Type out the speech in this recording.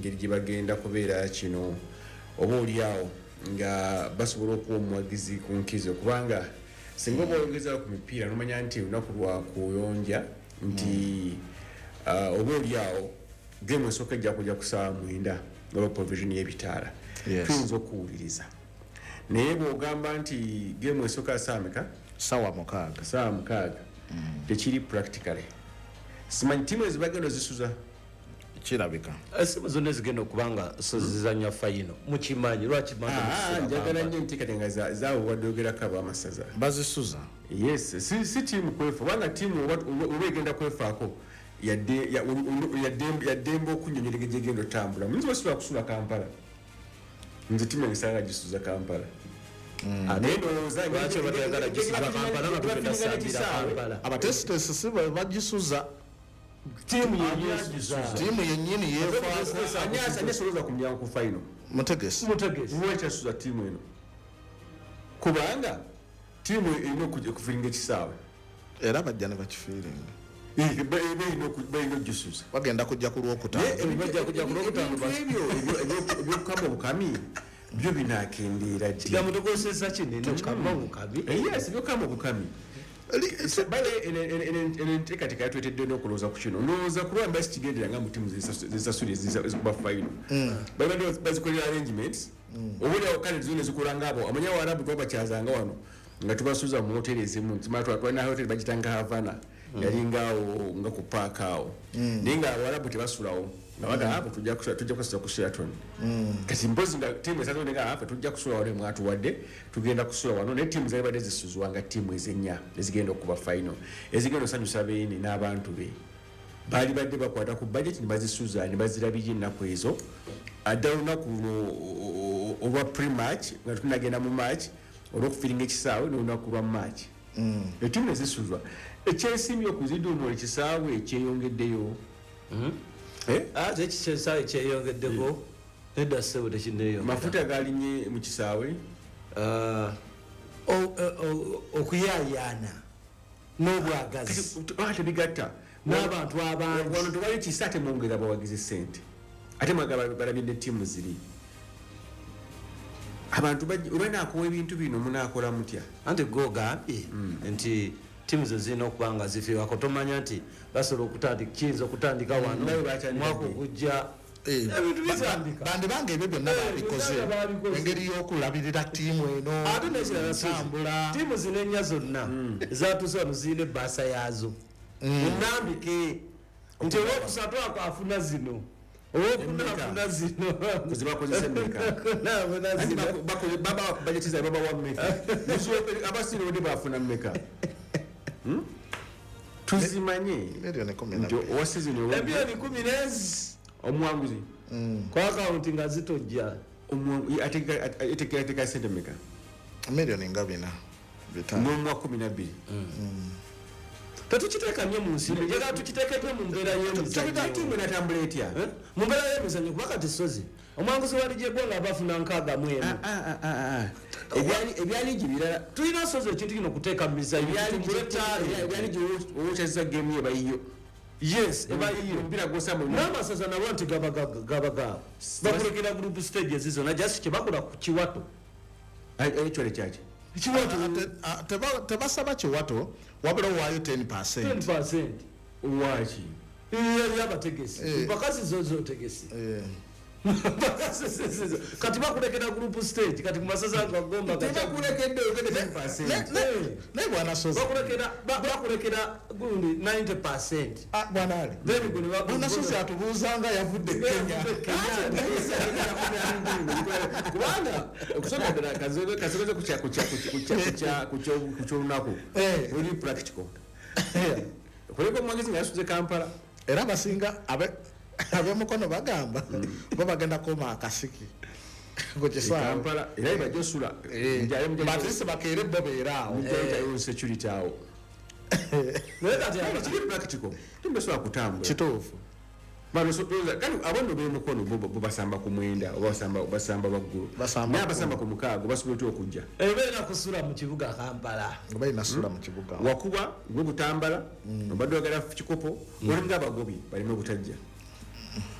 Engeri gye bagenda kubeera kino, oba oliawo nga basobola okuwa omuwagizi ku nkizo, kubanga singa oba oyongezawo ku mipiira, nomanya nti olunaku lwa kuyonja nti oba oliawo game esooka ejja kujja ku saawa 9 olwa provision y'ebitaala. Tuyinza okuwuliriza, naye bw'ogamba nti game esooka saa meka? Sawa 6. Saawa 6 tekiri practically. Simanyi tiimu ezibagenda ozisuza. Kirabika. Esimu zonna ezigenda okuba nga so zizanya final, mukimanyi lwaki? Ah, njagala nnyo enteekateeka zaabo wadde ogerako abamasaza. Bazisuza. Yes, si tiimu kwefa, kubanga tiimu oba egenda kwefaako, yaddembe okunyonyola engeri gyegenda otambula. Nze basobola kusula Kampala, nze tiimu engisanga gisuza Kampala. Naye ndowooza Lwaki oba toyagala gisuza Kampala nga tugenda sambira Kampala? Abatesitesi si bwe bagisuza. Tiimu yenyesuza. Tiimu yennyini yeefaako. Ani asolooza ku mulyango ku final? Mutegesi. Mutegesi. Lwakyasuza tiimu eno? Kubanga tiimu erina okufillinga ekisaawe. Era bajja ne bakifillinga. Balina okugisuza. Bagenda kujja ku Lwokutaano. Bajja kujja ku Lwokutaano. Ebintu ebyo ebyokukama obukami byo binakendeera ddi? Kigambo tukozesa kinene, okama obukabi. Yes, byokukama obukami. Eno enteekateeka yatwetedde n'okulowooza ku kino. Ndowooza kuba mba sikigendera nga mu tiimu zesasula ezikuba final babadde bazikolera arrangements, obaoliawo kale zo nezikola ngaabo. Amanya Awarabu twabakyazanga wano nga tubasuza mu hoteri ezimu. Twalina hoteri bagitanga Havana, yalingaawo nga ku paaka awo, naye nga Abawarabu tebasulawo, nga bagamba abo tujja kusula ku Sheraton. Kati mpozi nga tiimu esatu nga afe tujja kusula wano, mwatuwadde tugenda kusula wano, naye tiimu zalibadde zisuzwa nga tiimu ezennya ezigenda okuba final, ezigenda osanyusa beene n'abantu be, baali badde bakwata ku budget ne bazisuza ne bazirabirira ennaku ezo, addala olunaku luno olwa pre-match nga tunagenda mu match, olwokufillinga ekisaawe, n'olunaku lwa match etiimu nezisuzwa. Ekyensimbi okuziduumula ekisaawe ekyeyongeddeyo. Eh? Ate ekisaawe kyeyongeddeko? Nedda ssebo, tekineyongera. Mafuta galinye mu kisaawe. Ah, okuyayaana n'obwagazi Tebigatta. N'abantu abangi. Wano tewali kisa, ate mwongera abawagizi sente, ate mwagala balabye ne ttiimu ziri abantu olwenakuwa ebintu bino, munakola mutya? Anti gwe ogambye nti tiimu zo zirina okuba nga zifiirwako. Tomanya nti basobola okutandika, kiyinza okutandika wano Nawe bakyandika mwaka ddi? ogujja ebintu bitandika. Bandibanga ebyo byonna babikoze byonna babikoze. Engeri y'okulabirira ttiimu eno Ate nekirala, ntambula. tiimu zino ennya zonna ezatuuse wano zirina ebbaasa yaazo enambike nti olwokusatu ako afuna zino, owokuna Emmeka? afuna zino. Kuzibakozesa emmeka? Owokuna afuna Anti zino. baba bajeti zaabwe babawa mmeka? Abasiira obudde bafuna mmeka? Tuzimanye Miliyoni 12. nti owa season Emiliyoni 10 nezi. Omuwanguzi. Ku akawunti nga zitojja. Etekerateeka sente mmeka? Miliyoni nga 4, 5. N'omuwa 12. Tetukiteeka nnyo mu nsi, njagala tukiteeke nnyo mu mbeera y'emizannyo. Tiimu enatambula etya? Eh? Mu mbeera y'emizannyo, kuba kati sozi omuwanguzi wa ligi eggwanga abafuna 61. Ah, Ebya liigi birala. Tulina sozi ekintu kino okuteeka mu mizannyo tutumbule talent. Ebya liigi, owokyazza game ebayiyo. Yes, ebayiyo. Omupiira gwosamba. N'amasaza nabo nti gaba bakulekera group stages zonna, just kyebakola ku kiwato. Ekyole kyaki? Kiwato. Tebasaba kiwato, wabula owaayo 10. 10. Waki? Yali abategesi. Eh. Mpakasi zo zotegesi. Mpakasi kati bakulekera group stage, kati ku masaza nga Gomba Tebakulekedde, ogende 10. Naye bwana Sozi, bakulekera gundi 90. Ah, bwana Ali, Then gwe ne bwana Sozi atubuuzanga yavudde Kenya. Kubanga okusooka ddala kasoboze ku kyolunaku oli practical kuleka omuwagizi nga yasuze Kampala. Era abasinga ab'emukono bagamba bo bagenda koma akasiki ku kisaawe. Kampala era bajja osula. Batisi bakeere bo beere awo. Mujjayo security awo. Naye kati kiri practical, timbesobola kutambula. Kituufu. Bano kale abo nno b'emukono bo basamba ku 9 oba basamba waggulu. Basamba Naye abasamba ku 6 basobola otya okujja? Ebeera kusula mu kibuga Kampala. Nga balina sula mu kibuga. Wakuba gwe Butambala obadde oyagala kikopo, olinga abagobi baleme obutajja.